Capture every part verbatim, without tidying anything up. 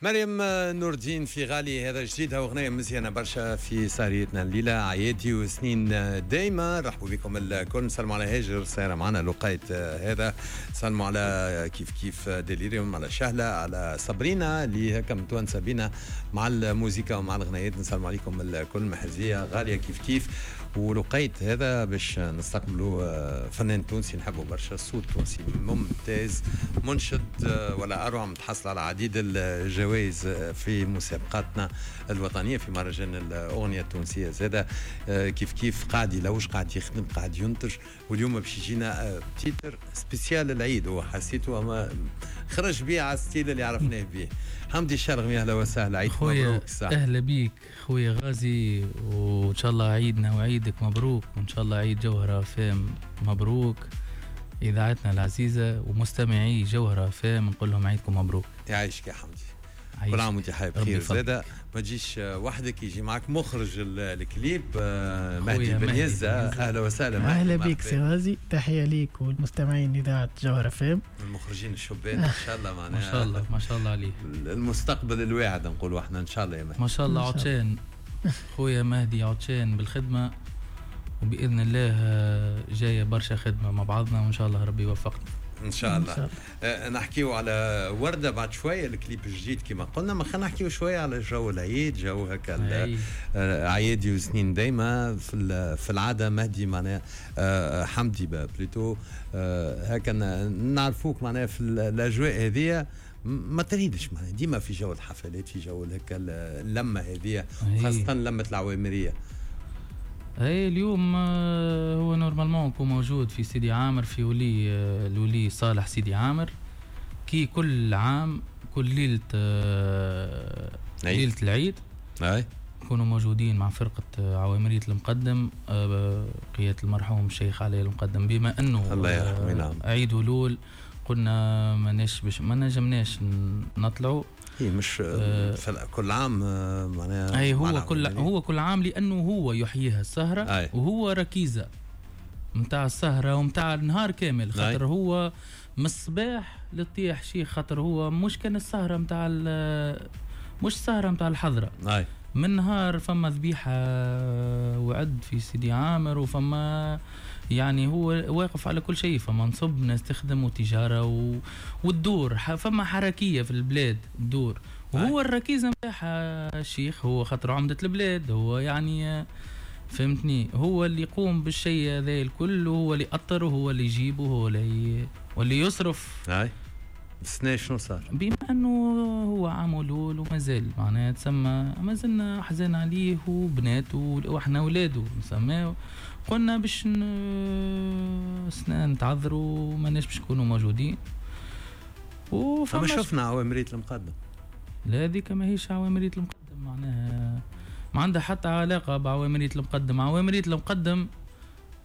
مريم نور الدين في غالي، هذا جديدها واغنيه مزيانه برشا في سهريتنا الليله. عيادي وسنين دايما، رحبوا بكم الكل. نسلموا على هاجر سايرة معنا لقيت هذا، سلموا على كيف كيف ديليريوم، على شهله، على صبرينا اللي هكا متونسه بينا مع الموسيقى ومع الغنايات. نسلموا عليكم الكل. محرزيه غالية كيف كيف. ولقيت هذا باش نستقبلوا فنان تونسي نحبه برشا، صوت تونسي ممتاز، منشد ولا اروع، متحصل على عديد الجوائز في مسابقاتنا الوطنية في مهرجان الاغنية التونسية زاده. كيف كيف قاعد يلوج، قاعد يخدم، قاعد ينتج، واليوم باش يجينا titre spécial العيد. هو حسيته اما خرج بيه على ال style اللي عرفناه بيه. حمدي الشرغمي، اهلا وسهلا، عيد مبروك. اهلا بيك خويا غازي، وان شاء الله عيدنا وعيدك مبروك، وان شاء الله عيد جوهرة فام مبروك، اذاعتنا العزيزة ومستمعي جوهرة فام نقول لهم عيدكم مبروك. يعيشك يا حمدي، كل عام وانت حي بخير. زاده ما تجيش وحدك، يجي معك مخرج الكليب مهدي بن يزة. اهلا وسهلا. اهلا بك سي غازي، تحية ليك والمستمعين اذاعة جوهرة فام، المخرجين الشبان ان شاء الله معناها ما شاء الله ما شاء الله عليه، المستقبل الواعد نقولوا احنا ان شاء الله يا مهدي. ما شاء الله عطشان خويا مهدي، عطشان بالخدمة، وباذن الله جاية برشا خدمة مع بعضنا، وان شاء الله ربي يوفقنا ان شاء الله. أه نحكيو على وردة بعد شوية، الكليب الجديد كما قلنا. ما خلينا نحكيو شوية على جو العيد، جو هكا عيادي وسنين دايما في في العادة. مهدي معناها أه حمدي plutôt أه هكا نعرفوك معناها في الاجواء هذه ما تريدش معناها ديما في جو الحفلات، في جو هكا اللمة هذه، خاصة لمه العوامريه. اي اليوم هو normalement يكون موجود في سيدي عامر، في ولي الولي صالح سيدي عامر، كي كل عام كل ليلة ليلة العيد اي يكونوا موجودين مع فرقه عوامريه المقدم قيادة المرحوم الشيخ علي المقدم. بما انه الله يرحمه، نعم، عيد ولول قلنا ماناش باش ما نجمناش نطلعوا. هي مش آه كل عام معناها، اي هو كل هو كل عام، لانه هو يحييها السهرة. أي. وهو ركيزة متاع السهرة ومتاع النهار كامل، خاطر أي. هو من الصباح للطيح شيخ، خاطر هو مش كان السهرة متاع مش السهرة متاع الحضرة. أي. من نهار فما ذبيحة وعد في سيدي عامر، وفما يعني هو واقف على كل شيء، فما نصب ناس تخدم وتجارة و... والدور، فما حركية في البلاد الدور، وهو الركيزة نتاعها الشيخ، هو خاطر عمدة البلاد، هو يعني فهمتني، هو اللي يقوم بالشيء هذا الكل، وهو اللي يأطر، وهو اللي يجيب، وهو اللي واللي يصرف. هاي السنة شنو صار؟ بما انه هو عام ولول ومازال معناها تسمى مازلنا حزين عليه وبناته واحنا ولاده نسميه، قلنا باش سنة نتعذروا ماناش باش نكونوا موجودين. وفما شفنا عوامرية المقدم. لا هذيك ماهيش عوامرية المقدم، معناها ما عندها حتى علاقة بعوامرية المقدم. عوامرية المقدم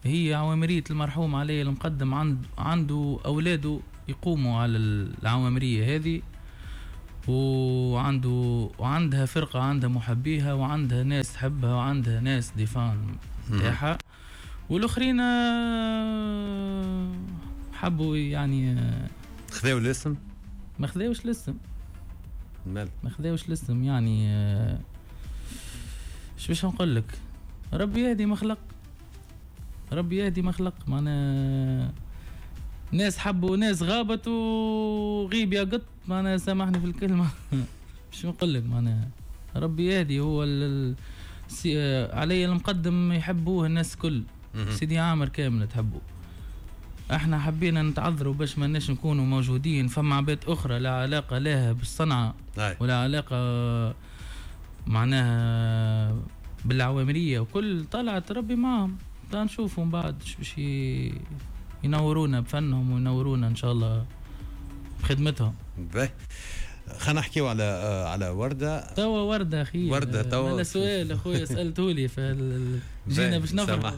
هي عوامرية المرحوم علي المقدم، عند عنده أولاده يقوموا على العوامرية هذه، وعنده وعندها فرقة، عندها محبيها، وعندها ناس تحبها، وعندها ناس des fans تاعها، والآخرين حبوا يعني خذاو الاسم، ما خذاوش الاسم، مال ما خذاوش الاسم يعني. اش باش نقول لك، ربي يهدي ما خلق، ربي يهدي ما خلق. معناها ناس حبوا ناس غابت وغيب يا قط، معناها سامحني في الكلمة. باش نقول لك معناها ربي يهدي. هو ال... علي المقدم يحبوه الناس كل، سيدي عامر كامل تحبوه. احنا حبينا نتعذروا باش ما ناش نكونوا موجودين. فما عباد اخرى لا علاقة لها بالصنعة ولا علاقة معناها بالعوامرية وكل، طلعت ربي معهم. نشوفهم بعد باش ينورونا بفنهم وينورونا ان شاء الله بخدمتهم. باهي، خلينا نحكيو على على وردة. توا وردة اخي، وردة توا هذا سؤال اخويا سالته لي، جينا باش نفرح.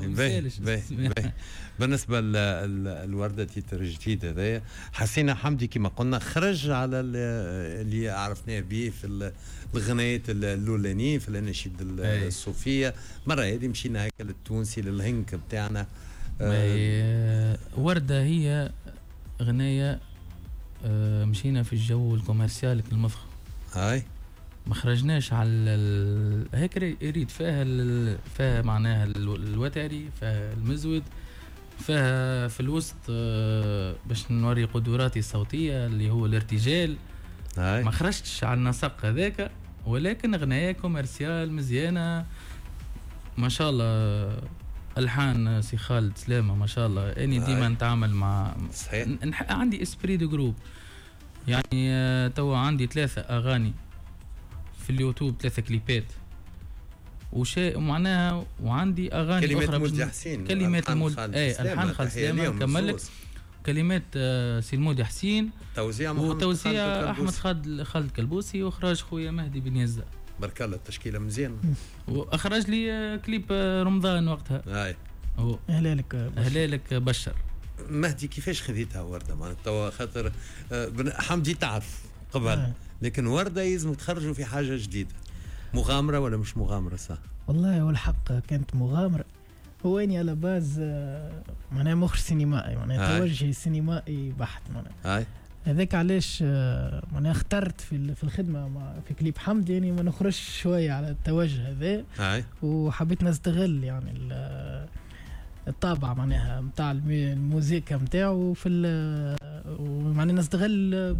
بالنسبة للوردة titre جديد هذايا، حسينا حمدي كما قلنا خرج على اللي عرفناه به في الغنايات الاولانية في الاناشيد الصوفية. مرة هذه مشينا هكا للتونسي للهنك بتاعنا. آه وردة هي غناية مشينا في الجو ال commercial المفخم. هاي ما خرجناش على ال... هيك ريت فيها ال... فيها معناها الوتري، فيها المزود، فيها في الوسط باش نوري قدراتي الصوتية اللي هو الارتجال. هاي. ما خرجتش على النسق هذاك، ولكن غنايه commerciale مزيانه ما شاء الله. الحان سي خالد سلامه ما شاء الله. اني ديما نتعامل مع صحيح. نح... عندي esprit de groupe يعني. توا عندي ثلاثة اغاني في اليوتيوب، ثلاثة كليبات وشيء معناها، وعندي اغاني كلمات اخرى. مولدي حسين، كلمات المولد اي الحان خالد سلامه كملك، كلمات سي المولدي حسين، توزيع وتوزيع احمد خالد خالد كلبوسي، واخراج خويا مهدي بن يزة. بارك الله، التشكيلة مزيان. واخرج لي كليب رمضان وقتها. هاي هلالك هلالك بشر. مهدي كيفاش خذيتها ورده؟ معناتها توا خاطر حمدي تعرف قبل آه. لكن ورده يلزم تخرجوا في حاجة جديدة. مغامرة ولا مش مغامرة؟ صح والله والحق كانت مغامرة. هو اني على base معناها مخرج سينمائي، معناها توجهي سينمائي بحت معناها. هذاك علاش معناها اخترت في في الخدمة مع في كليب حمدي يعني ما نخرجش شوية على التوجه هذا، وحبيت نستغل يعني الطابع معناها نتاع الموسيقى نتاعو في معناها نستغل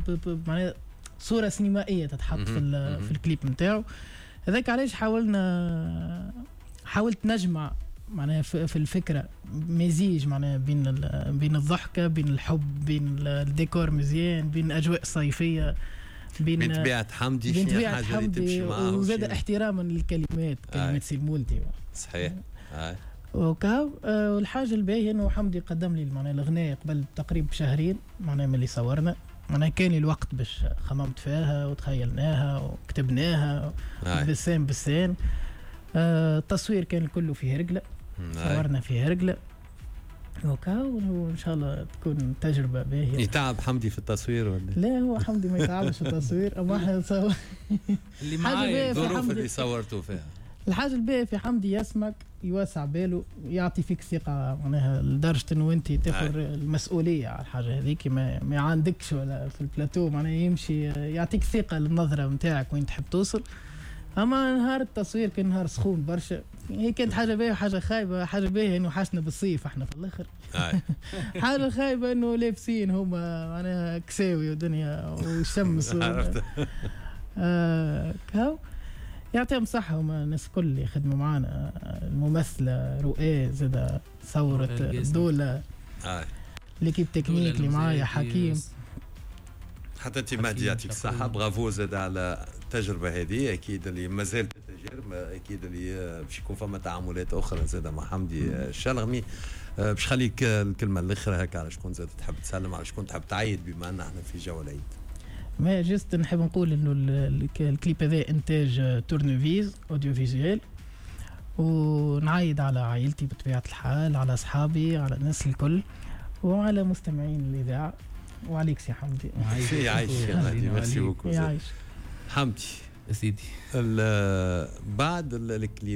معناها صوره سينمائية تتحط في في الكليب نتاعو. هذاك علاش حاولنا حاولت نجمع معناها في الفكرة مزيج معناها بين بين الضحكة، بين الحب، بين الديكور مزيان، بين اجواء صيفية، بين بين طبيعة حمدي، بين طبيعة حمدي، وزاد احتراما للكلمات، كلمات سي المولدي. صحيح. آه. وكا والحاجة الباهيه انه حمدي قدم لي معناها الاغنية قبل تقريبا شهرين معناها من اللي صورنا، معناها كان الوقت باش خممت فيها وتخيلناها وكتبناها بالسين بالسين. التصوير كان كله في هرقله، صورنا في هرقله وكا، وان شاء الله تكون تجربه باهيه. يتعب حمدي في التصوير ولا لا؟ هو حمدي ما يتعبش في التصوير، اما احنا نصور اللي معايا الظروف اللي صورتوا فيها. الحاجة الباهيه في حمدي يسمك، يوسع باله، يعطي فيك ثقة معناها لدرجة انه انت تاخذ المسؤولية على الحاجة هذيك، ما, ما عندكش ولا في البلاتو معناها يمشي يعطيك ثقة للنظره نتاعك وين تحب توصل. اما نهار التصوير كان نهار سخون برشا، هي كانت حاجة باهيه وحاجه خايبة. حاجة باهيه انه حشنا بالصيف احنا في الاخر، حاجة خايبة انه لابسين هما معناها كساوي ودنيا والشمس و... آه كاو. يعطيهم صحة هما الناس الكل اللي خدموا معانا، الممثلة رؤى زادة صورت الدولة، l'équipe technique اللي معايا حكيم. حتى انت مهدي يعطيك الصحة، برافو زاد على التجربة هذه. اكيد اللي مازالت تجربة، اكيد اللي باش يكون فما تعاملات اخرى زاد مع حمدي الشلغمي. باش خليك الكلمة الاخرى هكا، على شكون زاد تحب تسلم، على شكون تحب تعيد بما ان احنا في جو العيد. ما juste نحب نقول انه الكليب هذا انتاج Tournevis audiovisuel، ونعيد على عائلتي بطبيعة الحال، على اصحابي، على الناس الكل، وعلى مستمعين الاذاعة، وعليك سي حمدي. يعيش يا مهدي، merci beaucoup. يعيش حمدي سيدي. بعد الكليب